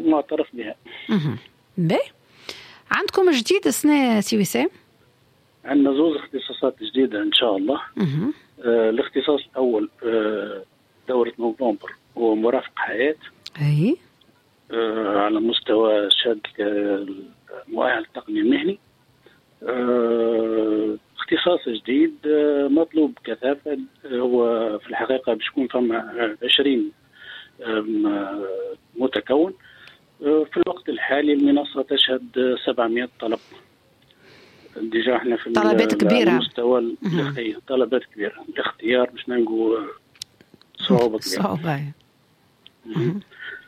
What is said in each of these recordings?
ومعترف بها. باهي، عندكم جديد السنة سي وسام؟ عندنا زوز اختصاصات جديدة إن شاء الله. الاختصاص الأول دورة نوفمبر هو مرافق حياة. أي. على مستوى شهادة المؤهل التقني المهني. اختصاص جديد مطلوب كثافة، هو في الحقيقة باش يكون فما 20 متكون. في الوقت الحالي المنصة تشهد 700 طلب. déjà احنا في طلبات كبيرة، مستوى طلبات كبيرة، الاختيار باش نلقوا صعوبة كبيرة. صعوبة.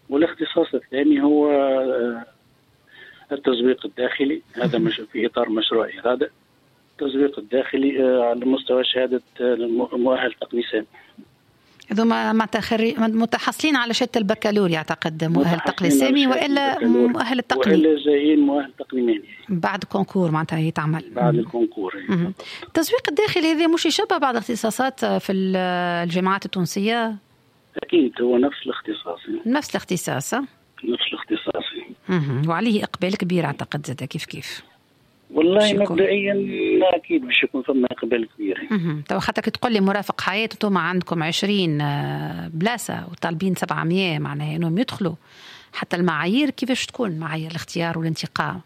والاختصاص الثاني هو التسويق الداخلي، هذا في إطار مشروع إرادة. التسويق الداخلي على مستوى شهادة مؤهل تقني سامي. هذوما متحصلين على شهادة البكالوريا أعتقد، مؤهل تقني سامي وإلا مؤهل التقني، وإلا جايين مؤهل تقني مهني بعد concours، معناتها يتعمل بعد ال concours. التسويق الداخلي هذا مش يشبه بعض الاختصاصات في الجامعات التونسية؟ أكيد هو نفس الاختصاص. نفس الاختصاص. نفس الاختصاص. وعليه إقبال كبير أعتقد زاد كيف كيف. والله مبدئيا اكيد باش يكون فما اقبال كبير. تو خاطر كي تقول لي مرافق حياة انتم عندكم 20 بلاصة وطالبين 700، معناها انهم يدخلوا حتى المعايير كيفاش تكون معايير الاختيار والانتقاء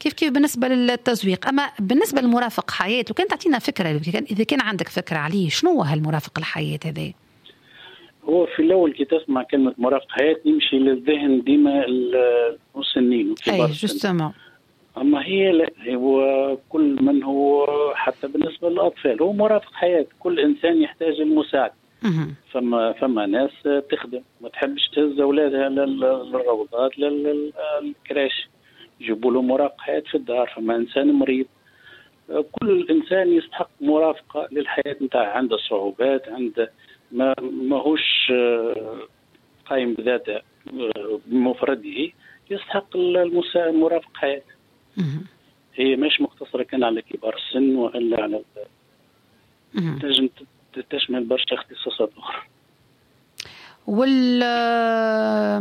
كيف كيف بالنسبة للتزويق. اما بالنسبة للمرافق حياة، وكان تعطينا فكرة اذا كان عندك فكرة عليه، شنو هو هالمرافق الحياة هذا؟ هو في الاول كي تسمع كلمة مرافق حياة يمشي للذهن ديما المسنين وكبار السن. اي justement. أما هي لا، هو كل من هو حتى بالنسبة للأطفال هو مرافق حياة. كل إنسان يحتاج المساعدة. فما ناس تخدم ما تحبش تهز أولادها للروضات لل crèche، يجيبوا له مرافق حياة في الدار. فما إنسان مريض، كل إنسان يستحق مرافقة للحياة نتاعه، عنده صعوبات، عنده ماهوش قايم بذاته بمفرده، يستحق المرافق حياة. هي مش مقتصرة كان على كبار السن وإلا على تنجم تشمل برشا اختصاصات أخرى. وال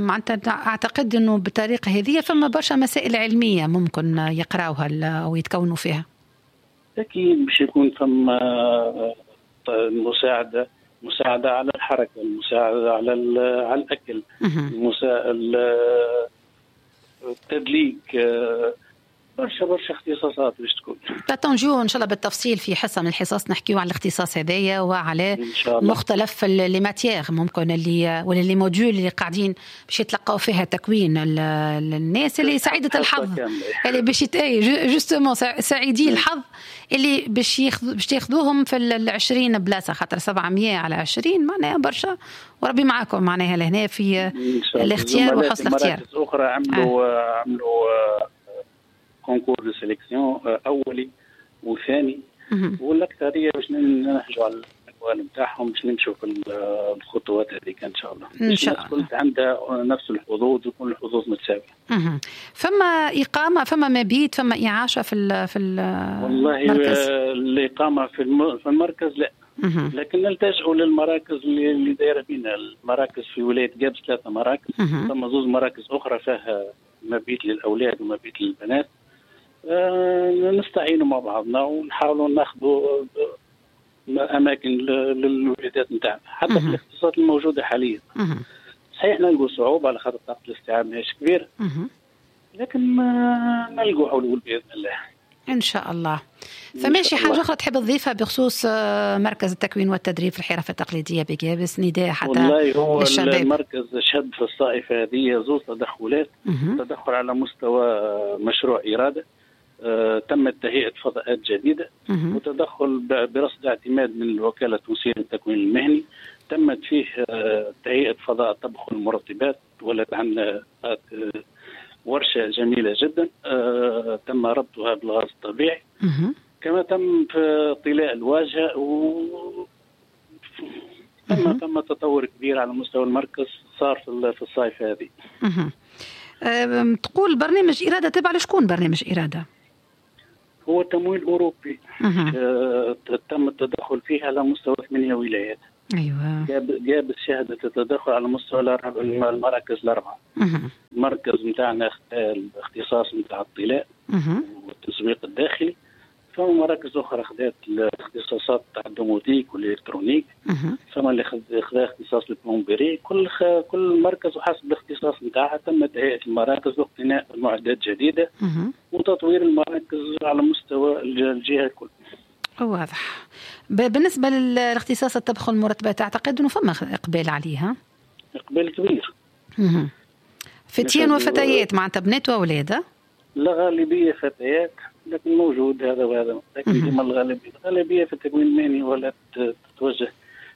معناتها أعتقد أنه بالطريقة هذه فما برشا مسائل علمية ممكن يقراوها أو يتكونوا فيها. أكيد باش يكون فما مساعدة على الحركة، المساعدة على الأكل، التدليك، برشا اختصاصات باش تكون. تنجيو ان شاء الله بالتفصيل في حصة من الحصص نحكيو على الاختصاص هذايا وعلى مختلف les matières ممكن اللي ولا les modules اللي قاعدين باش يتلقاو فيها تكوين الناس اللي سعيدة الحظ اللي باش justement سعيدي الحظ اللي باش ياخذوهم في 20 بلاصة، خاطر 700 على 20 معناها برشا، وربي معاكم معناها لهنا في الاختيار وحسن الاختيار. مراكز اخرى عملوا concours de sélection اولي وثاني، والاكثريه باش ننهجوا على الاقوال نتاعهم باش نمشوا في الخطوات هذيك ان شاء الله. ان شاء الله كل عندها نفس الحظوظ ويكون الحظوظ متساوية. فما اقامه، فما مبيت، فما اعاشه في والله المركز؟ الاقامة في المركز لا. لكن نلتجئوا للمراكز اللي دايرة بينا. المراكز في ولاية قابس 3 مراكز، ثم 2 مراكز اخرى فيها مبيت للاولاد ومبيت للبنات. نستعينوا مع بعضنا ونحاولوا ناخذوا اماكن للوليدات نتاعنا حتى في الاختصاصات الموجودة حاليا. صحيح نلقوا صعوبة على خاطر طاقة الاستيعاب ماهيش كبيرة، لكن نلقوا حلول باذن الله ان شاء الله. فماشي حاجة اخرى تحب تضيفها بخصوص مركز التكوين والتدريب في الحرف التقليدية بقابس؟ نداء حتى والله هو للشباب. المركز شهد في الصائفه هذه 2 تدخلات. تدخل على مستوى مشروع اراده، تمت تهيئة فضاءات جديدة، وتدخل برصد اعتماد من الوكالة التونسية للتكوين المهني تمت فيه تهيئة فضاء طبخ المرطبات، ولت عندنا ورشة جميلة جدا تم ربطها بالغاز الطبيعي. كما تم في طلاء الواجهة، و تم تطور كبير على مستوى المركز صار في الصيف هذه. تقول برنامج إرادة تبع لشكون برنامج إرادة؟ هو تمويل أوروبي. تم التدخل فيه على مستوى 8 ولايات. ايوه. قابس شهدت التدخل على مستوى المراكز الاربعة. المركز نتاعنا الاختصاص نتاع الطلاء والتسويق الداخلي، فما مراكز اخرى خذات الاختصاصات تاع ال domotique وال électronique، فما اللي خذا اختصاص ال plomberie. كل مركز وحسب الاختصاص نتاعها تم تهيئة المراكز واقتناء معدات جديدة وتطوير المراكز على مستوى الجهة الكل. واضح. بالنسبة للاختصاص الطبخ والمرتبات اعتقد انه فما اقبال عليها. اقبال كبير. فتيان وفتيات معناتها بنات واولاد؟ لا، غالبية فتيات، لكن موجود هذا وهذا، لكن ديما الغالبية في التكوين المهني ولا تتوجه.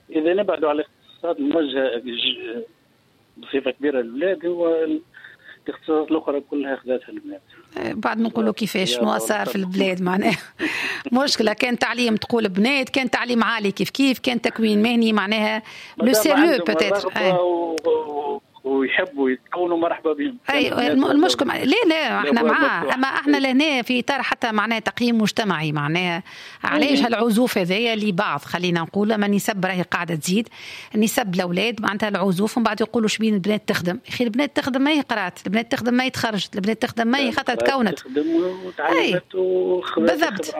اذا نبعدوا على الاختصاصات الموجهة بصفة كبيرة للولاد، هو الاختصاصات الاخرى كلها اخذتها البنات. بعد نقولوا كيفاش شنو صار في البلاد معناها مشكلة. كان تعليم تقول بنات، كان تعليم عالي كيف كيف، كان تكوين مهني معناها le sérieux peut-être ويحبوا يتكونوا مرحبا بهم. اي المشكل لا لا احنا معاه، اما احنا لهنا في اطار حتى معناها تقييم مجتمعي، معناها علاش هالعزوف هذايا لبعض، خلينا نقول اما نسب راهي قاعدة تزيد نسب الاولاد معناتها العزوف، ومن بعد يقولوا شبين البنات تخدم. يا اخي البنات تخدم ما هي قرات، البنات تخدم ما هي تخرجت، البنات تخدم ما هي خاطر تكونت تخدم وتعلمت بالضبط.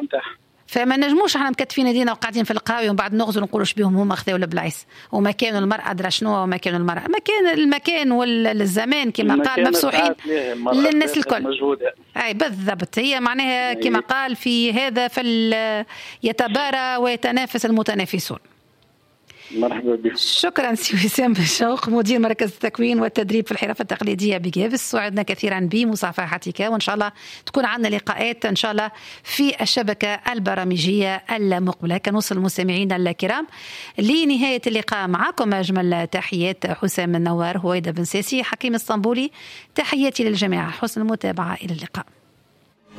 فما نجموش احنا مكتفين يدينا وقاعدين في القهاوي ومن بعد نغزر نقولوا شبيهم هما خذاو البلايص وما كانوا المرأة درا شنو وما كانوا المرأة، مكان المكان والزمان كما قال مفسوحين للناس الكل. اي بالضبط، هي معناها كما قال في هذا يتبارى ويتنافس المتنافسون. مرحبا بك. شكرا سي وسام بالشوق، مدير مركز التكوين والتدريب في الحرف التقليدية بقابس، سعدنا كثيرا بمصافحتك، وان شاء الله تكون عندنا لقاءات ان شاء الله في الشبكة البرامجيه المقبلة. كنوصل المستمعين الكرام لنهاية اللقاء معكم، اجمل تحيات حسام النوار، هويدا بن ساسي، حكيم اسطنبولي، تحياتي للجميع، حسن المتابعة، الى اللقاء.